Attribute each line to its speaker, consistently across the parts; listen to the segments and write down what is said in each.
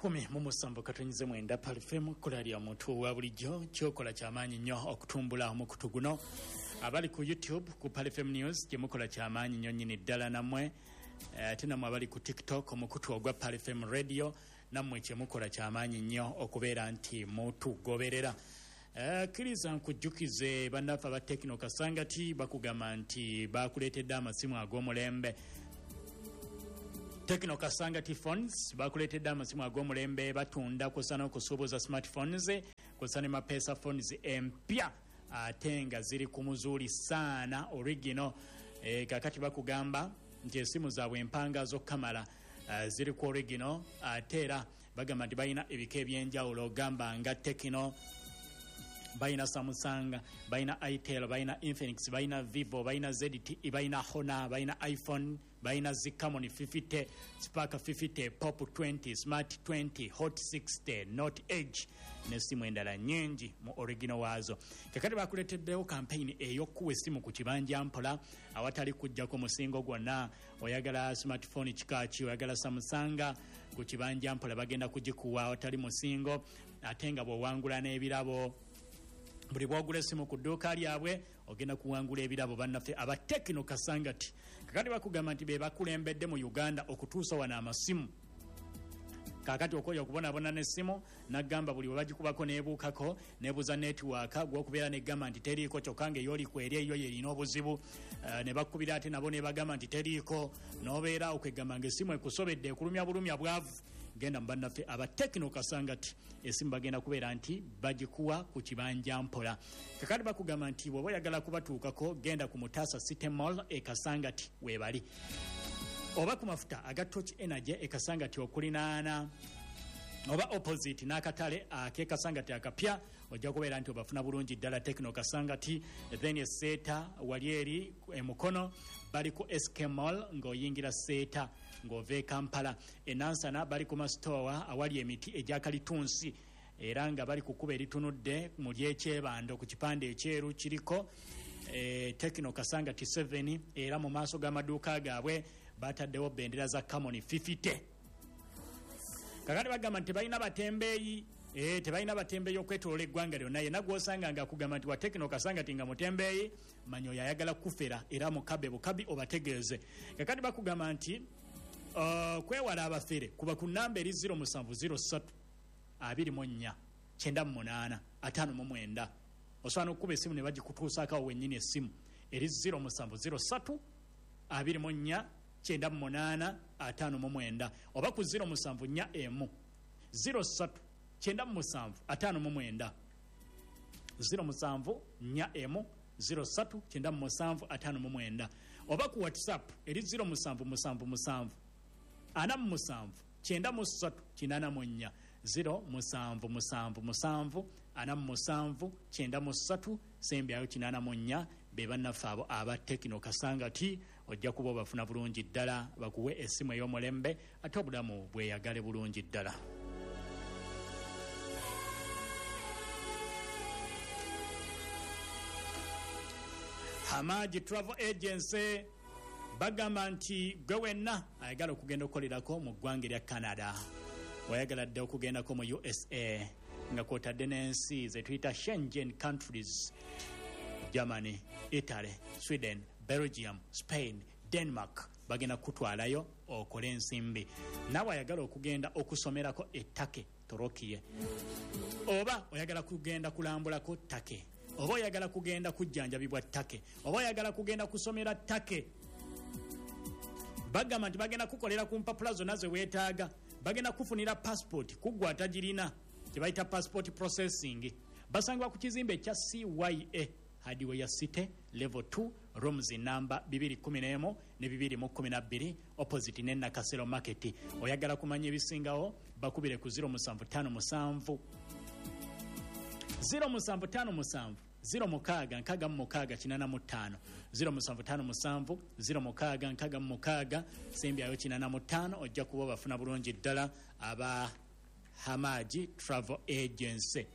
Speaker 1: 107.9 Pearl FM, kkola lya muntu owa bulijjo. Kyokola kyamaanyi nnyo okutumbula omukutu guno. Abali ku YouTube ku Pearl FM News, gyemukola kyamaanyi nnyo nnyini ddala nammwe. Ate nammwe abali ku TikTok, omukutu ogwa Pearl FM Radio, nammwe kyemukola kyamaanyi nnyo okubeera nti mutugoberera. Kkiriza nkujjukize bannaffe aba Tecno Kasangati bakugamba nti bakuleetedde amasimu ag'omulembe. Tecno Kasangati Phones bakuleetedde amasimu ag'omulembe, batunda kwossa n'okusuubuza smartphones kwossa ne mapesa phones empya ate nga ziri ku muzuuli saana original. Kakati bakugamba nti esimu zaabwe empanga z'okukamala ziri ku original, ate era bagamba nti balina ebika ebyenjawulo gamba nga Tecno, balina Samsung, balina Itel, balina Infinix, balina Vivo, balina ZTE, balina Honor, balina iPhone, balina Zcamon 50, Spark 50, Pop 20, Smart 20, Hot 60, Note Edge n'essimu endala nnyingi mu original waazo. Kakati bakuleeteddewo campaign ey'okuwa essimu ku kibanja mpola awatali kujjako musingo gwonna. Oyagala smartphone kika ki? Oyagala Samsung? Ku kibanja mpola bagenda kugikuwa awatali musingo, ate nga bw'owangula n'ebirabo. Buli bwogula essimu ku dduuka lyabwe ogenda kuwangula ebirabo. Bannaffe aba Tecno Kasangati kakati bakugamba nti be bakulembedde mu Uganda okutuusa wano amasimu. Kakati okoya okubonaabona n'essimu, nagamba buli webagikubako nebuukako nebuuza netiwaaka gwokubeera negamba nti teriiko, kyokka nga eyoliku eri eyo yerina obuzibu. Ne bakubira ate nabo nebagamba nti teriiko, n'obeera okwegamba nga essimu ekusobedde, ekulumya bulumya bwavu. Genda mu bannaffe aba Tecno Kasangati, essimu bagenda kubeera nti bagikuwa ku kibanja mpola. Kakati bakugamba nti bw'oba oyagala kubatuukako, genda ku Mutaasa City Mall e Kasangati weebali, oba ku mafuta aga Torch Energy e Kasangati okulinaana oba opposite n'akatale ak'e Kasangati akapya, ojja kubeera nti obafuna bulungi ddala Tecno Kasangati. Then eseeta wali eri emukono bali ku SK Mall ng'oyingira Seeta ng'ova e Kampala. Enansana bali ku masitowa awali emiti egya kalitunsi, era nga bali ku kkubo eritunudde mu lyekyebando ku kipande ekyeru kiriko Tecno Kasangati 7, era mu maaso g'amaduuka gaabwe bataddewo bendera za Camon 50. Kakati bagamba nti tebalina batembeeyi, tebalina batembeeyi okwetoloola eggwanga lyonna. Yenna gw'osanga nga akugamba nti wa Tecno Kasangati nga mutembeeyi, manya oyo ayagala kufera, era mukabe bukabi obategeeze. Kakati bakugamba nti kwewala abafere, kuba ku namba eri 0703 24 98 59. Osobola n'okukuba essimu ne bagikutuusaako awo wennyini. Essimu eri 0703 24 98 59, oba ku 0741 03 97 59, 0741 03 97 59, oba ku WhatsApp eri 0777 47 93 84, 0777 47 93 sembyayo 84. Be bannaffe abo aba Tecno Kasangati, ojja kuba obafuna bulungi ddala bakuwe essimu ey'omulembe ate obulamu bweyagale bulungi ddala. Hamaji Travel Agency bagamba nti gwe wenna ayagala okugenda okukolerako mu ggwanga erya Canada, oyagala dde okugendako mu USA nga kwotadde n'ensi zetuyita Schengen countries, Germany, Italy, Sweden, Belgium, Spain, Denmark, bagenda kukutwalayo okole ensimbi. Naawe ayagala okugenda okusomerako e Turkey, Torokiye, oba oyagala kugenda kulambulako Turkey, oba oyagala kugenda kujjanjabibwa Turkey, oba oyagala kugenda kusomera Turkey, bagamba nti bagenda kukolera ku mpapula zonna ze weetaaga, bagenda kufunira passport kuggwa atagirina, kye bayita passport processing. Basangibwa ku kizimbe ekya CYA Hardware City, level 2, rooms namba 211 ne 212, opposite ne Nakasero Market. Oyagala kumanya ebisingawo, bakubire ku 0757 0757 06 66 85, 0757 06 66 sembyayo 85. Ojja kuba obafuna bulungi ddala aba Hamaji Travel Agency.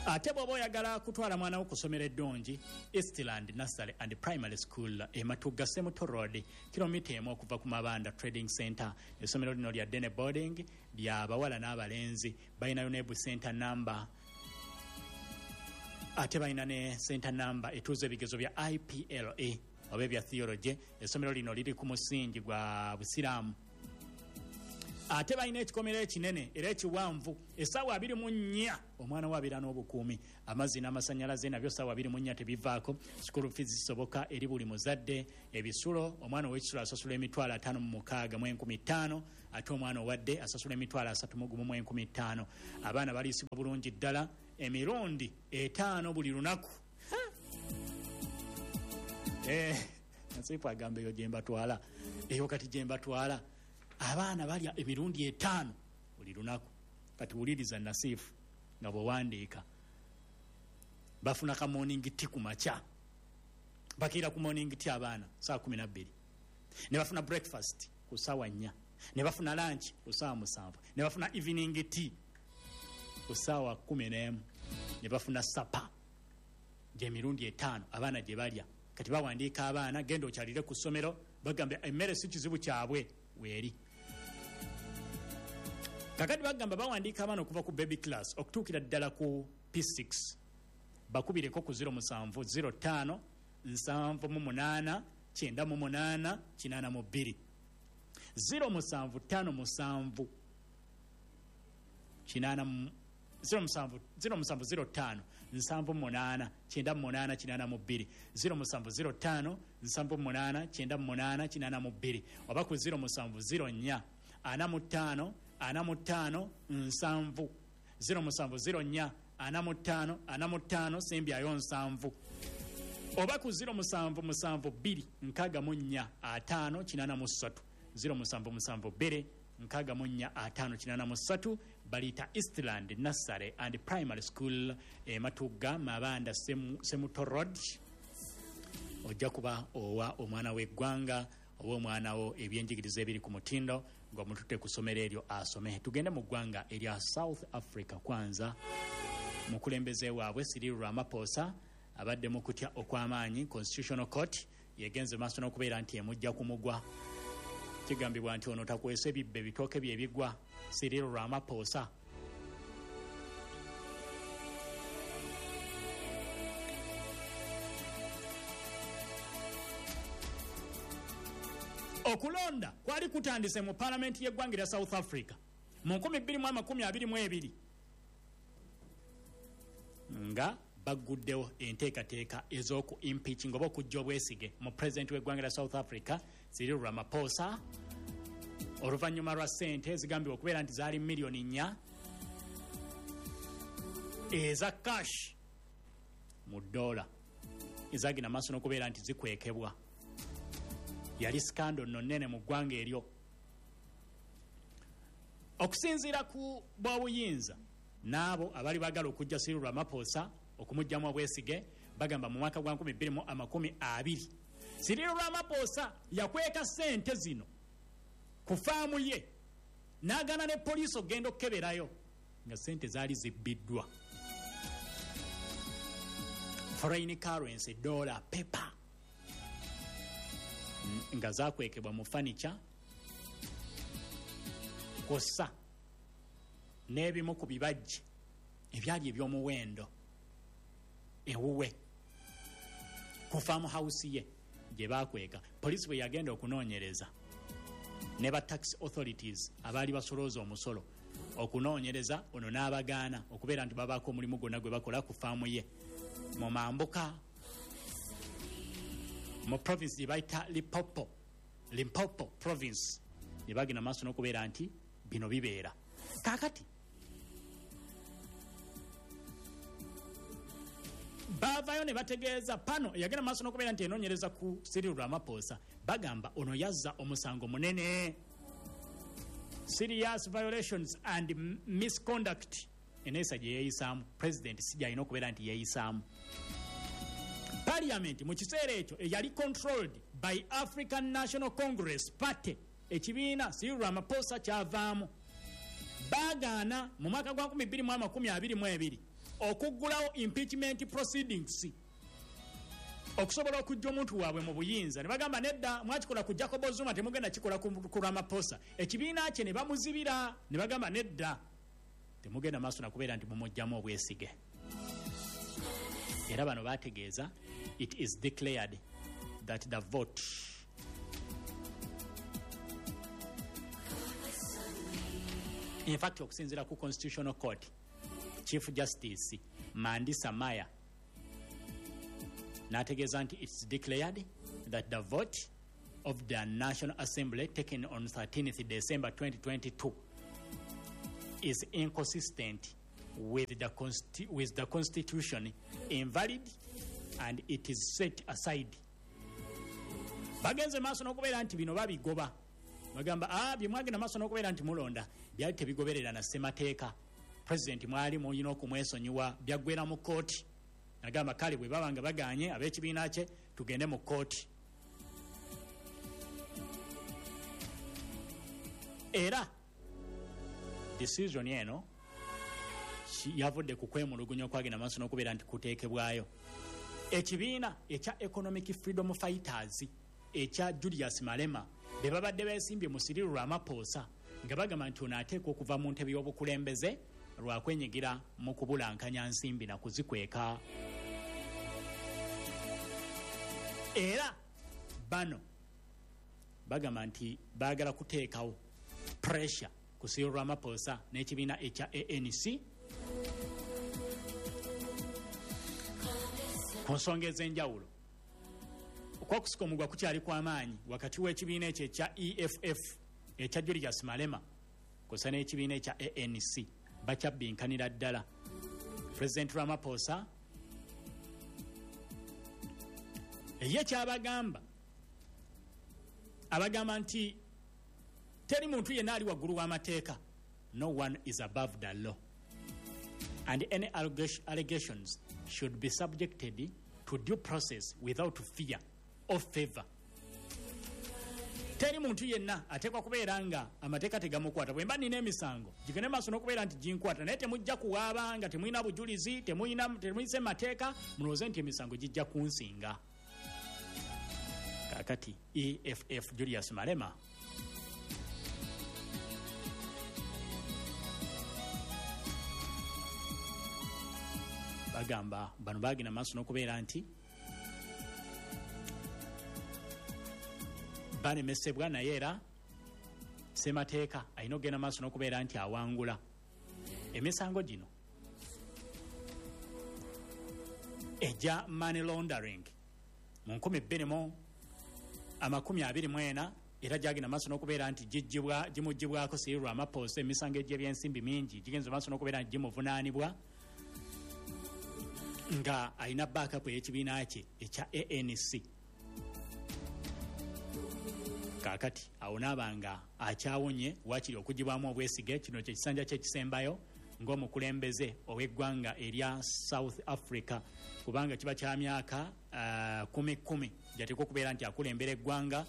Speaker 1: Ate bw'oba oyagala kutwala mwana wo kusomera eddungi, Eastland Nursery and Primary School e Matugga Semuto Road, kilomita 1 okuva ku Mabanda Trading Center. Essomero lino lya day boarding, lya bawala n'abalenzi. Balinayo ne center number, ate balina ne center number etuuza ebigezo bya IPLA oba ebya theology. Essomero lino liri ku musingi gwa Busiraamu, ate balina ekikomero ekinene era ekiwanvu. Essaawa 24 omwana we abeera n'obukuumi. Amazzi n'amasanyalaze nabyo ssaawa 24 tebivaako. School fees zisoboka eri buli muzadde. Ebisulo, omwana ow'ekisulo asasula 565,500, ate omwana owadde asasula 31,500. Abaana baliisibwa bulungi ddala emirundi 5 buli lunaku. Nasiifu agamba eyo gyembatwala, eyo kati gyembatwala. Abaana balya emirundi 5 buli lunaku. Kati wuliriza Nasiifu nga bwewandiika. Bafuna ka morning tea ku makya, bakiira ku morning tea abaana saa 12, ne bafuna breakfast ku saawa 4, ne bafuna lunch ku saawa 7, ne bafuna evening tea ku saawa 11, ne bafuna supper. Gyemirundi 5 abaana gye balya. Kati bawandiika abaana, genda okyalire ku ssomero, bagamba emmere si kizibu kyabwe weeri. Kakati bagamba bawandiika abaana okuva ku baby class okutuukira ddala ku P6. Bakubireko ku 07 05 78 98 82, 07 57 8 07 07 05 78 98 82, 07 05 78 98 82, oba ku 07 04 45 45 70, 07 04 45 45 sembyayo 70, oba ku 07 72 64 5 83, 07 72 64 5 83. Balita Eastland Nursery and Primary School e Matugga Mabanda Semuto Road. Ojja kuba owa omwana w'eggwanga oba omwana wo ebyenjigiriza ebiri ku mutindo ng'omututte ku ssomero eryo asome. Tugende mu ggwanga erya South Africa. Kwanza mukulembeze waabwe Cyril Ramaphosa abadde mu kutya okw'amaanyi. Constitutional Court yegenze maaso n'okubeera nti emujja ku mugwa. Kigambibwa nti ono takwesa ebibbe bitooke bye bigwa. Cyril Ramaphosa, okulonda kwali kutandise mu palamenti y'eggwanga erya South Africa mu 2022 nga bagguddewo enteekateeka ez'oku impeaching oba okujja obwesige mu pulezidenti w'eggwanga lya South Africa Cyril Ramaphosa, oluvannyuma lwa ssente ezigambibwa okubeera nti zaali miliyoni 4 eza cash mu dola ezagenda maaso n'okubeera nti zikwekebwa. Yali scandal nno nnene mu ggwanga eryo. Okusinziira ku bwobuyinza n'abo abali baagala okujja Cyril Ramaphosa okumugjamu obwesige, bagamba mu mwaka gwa 2020 Cyril Ramaphosa yakweka ssente zino ku faamu ye n'agaana ne poliisi okugenda okukeberayo nga ssente zaali zibbiddwa, foreign currency dollar paper nga zakwekebwa mu furniture kw'ossa n'ebimu ku bibajje ebyali eby'omuwendo ewuwe ku farm house ye gye bakweka. Poliisi bwe yagenda okunoonyereza ne ba tax authorities abaali basolooza omusolo okunoonyereza, ono n'abagaana okubeera nti babaako omulimu gwonna gwe bakola ku faamu ye mu mambuka mu province gye bayita Limpopo, Limpopo Province, ne bagenda maaso n'okubeera nti bino bibeera. Kaakati baavayo ne bategeeza pano eyagenda maaso n'okubeera nti enoonyereza ku Cyril Ramaphosa. Bagamba ono yazza omusango munene, serious violations and misconduct, eneesa gye yeeyisaamu president si gyalina okubeera nti yeeyisaamu. Parliament mu kiseera ekyo eyali controlled by African National Congress Party, ekibiina Cyril Ramaphosa kyavaamu, baagaana mu mwaka gwa 2022. Okuggulawo impeachment proceedings okusobola okujja omuntu waabwe mu buyinza, ne bagamba nedda, mwakikola ku Jacob Zuma, temugenda kikola ku Ramaphosa. Ekibiina kye ne bamuzibira, ne bagamba nedda, temugenda maaso nakubeera nti mumugjamu obwesige. Era bano bategeeza, it is declared that the vote in fact, okusinziira ku Constitutional Court, Chief Justice Mandisa Maya n'ategeeza nti it's declared that the vote of the National Assembly taken on 13th December 2022 is inconsistent with the Constitution, invalid, and it is set aside. Bagenze maaso n'okubeera nti bino babigoba, bagamba ah, bye mwagenda maaso n'okubeera nti mulonda byali tebigoberera na ssemateeka. Pulezidenti mwali mulina okumwesonyiwa, byaggwera mu kooti. Nagamba kale bwe baba nga baganye ab'ekibiina kye, tugende mu kooti. Era decision eno yavudde ku kwemulugunya okwagenda maaso n'okubeera nti kuteekebwayo ekibiina ekya Economic Freedom Fighters ekya Julius Malema, be babadde beesimbye mu Cyril Ramaphosa, nga bagamba nti ono ateekwa okuva mu ntebe y'obukulembeze lwakwenyigira mu kubulankanya nsimbi na kuzikweka. Era bano bagamba nti baagala kuteekawo pressure ku Cyril Ramaphosa n'ekibiina ekya ANC ku nsonga ez'enjawulo. Okwokusika omugwa kukyali kw'amaanyi wakati w'ekibiina ekyo ekya EFF ekya Julius Malema kusa n'ekibiina ekya ANC, bakyabbinkanira ddala. President Ramaphosa ye kyabagamba, abagamba nti teri muntu yenna ali waggulu w'amateeka, no one is above the law, and any allegations should be subjected to due process without fear or favor. Teri muntu yenna ateekwa kubeera nga amateeka tegamukwata. Bwe mba nina emisango, gigende maaso n'okubeera nti ginkwata, naye temujja kuwaaba nga temulina bujulizi, temuyise mateeka, mulowooze nti emisango gijja kunsinga. Kaakati EFF, Julius Malema, bagamba bano bagenda maaso n'okubeera nti balemesebwa, naye era semateeka alina okugenda maaso n'okubeera nti awangula emisango gino egya money laundering mu 2024. Era gyagenda maaso n'okubeera nti gimugibwako Cyril Ramaphosa. Emisango egy'ebyensimbi mingi gigenze maaso n'okubeera nti gimuvunaanibwa nga alina backup ey'ekibiina kye ekya ANC. Kaakati awo naaba nga akyawonye wakiri okugibwamu obwesige. Kino kye kisanja kye kisembayo ng'omukulembeze ow'eggwanga erya South Africa, kubanga kiba kya myaka 10 10 gyateekwa okubeera nti akulembera eggwanga.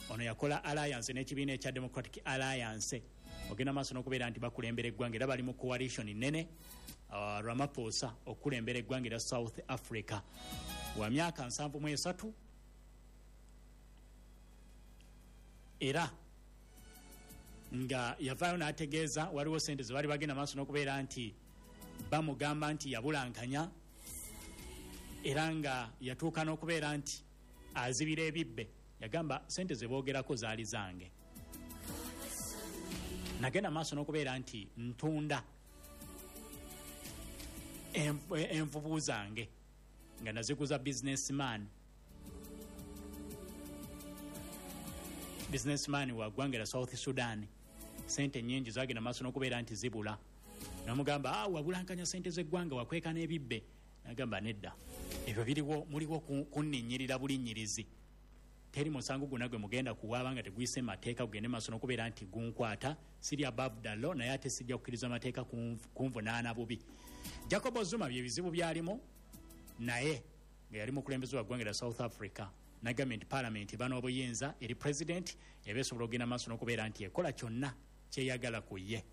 Speaker 1: Ono yakola alliance n'ekibiina ekya Democratic Alliance, ogenda maaso n'okubeera nti bakulembera eggwanga, era bali mu coalition nene. Ramaphosa okukulembera eggwanga erya South Africa wa myaka 73, era nga yavaayo n'ategeeza waliwo sente ze baali bagenda maaso n'okubeera nti bamugamba nti yabulankanya, era nga yatuuka n'okubeera nti azibira ebibbe. Yagamba sente ze boogerako zaali zange, nagenda maaso n'okubeera nti ntunda envubu zange nga naziguza businessman wa ggwanga lya South Sudan. Sente nyingi zagenda maaso n'okubeera nti zibula. Namugamba, ah, wabulankanya sente z'eggwanga, wakweka n'ebibbe. Nagamba nedda, ebyo biriwo muliwo kunninnyirira bulinnyirizi. Teri musango gwonna gwe mugenda kuwaaba nga teguyise mateeka gugende maaso n'okubeera nti gunkwata. Siri above the law, naye ate sijja kukkiriza mateeka kunvunaana bubi. Jacob Zuma bye bizibu byalimu, naye nga yali mukulembeze wa ggwanga lya South Africa, nagambye nti Parliament eba n'obuyinza eri president, eba esobola okugenda maaso n'okubeera nti ekola kyonna kyeyagala ku ye.